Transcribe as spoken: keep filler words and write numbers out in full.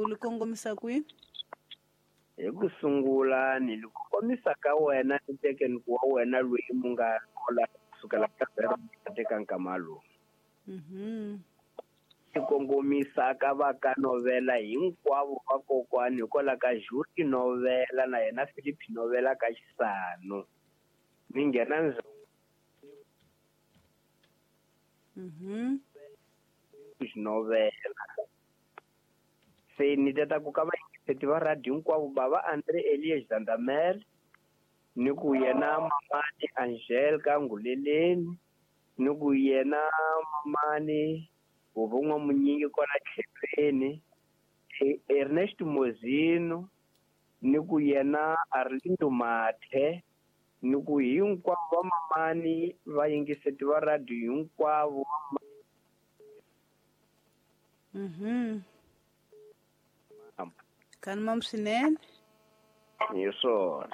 U li kongomisa kwihi? Hi ku sungula ni li kongomisa ka wena ni tekeni ku wa wena loyi mu nga kola kusukela ka zero teka nkama lowu. Mhm. Ni kongomisa ka va ka Novela hinkwavo va kokwani hikwalaho ka Juri Novela na yena Philip Novela ka Xisano. Ni nghena ndzi Mhm. Novela. Se ni tata ku ka vayingiseti va radio hinkwavo bava Andre Elias Zandamel ni ku yena mamani Angel ka Nguleleni ni ku yena mamani Vuvun'wa Munyingi kwala tlhelweni Ernest Mozino ni ku yena Arlindo Mathe ni ku hinkwavo va mamani vayingiseti va radio hinkwavo. Mhm. Kanimam swinene. Hi swona.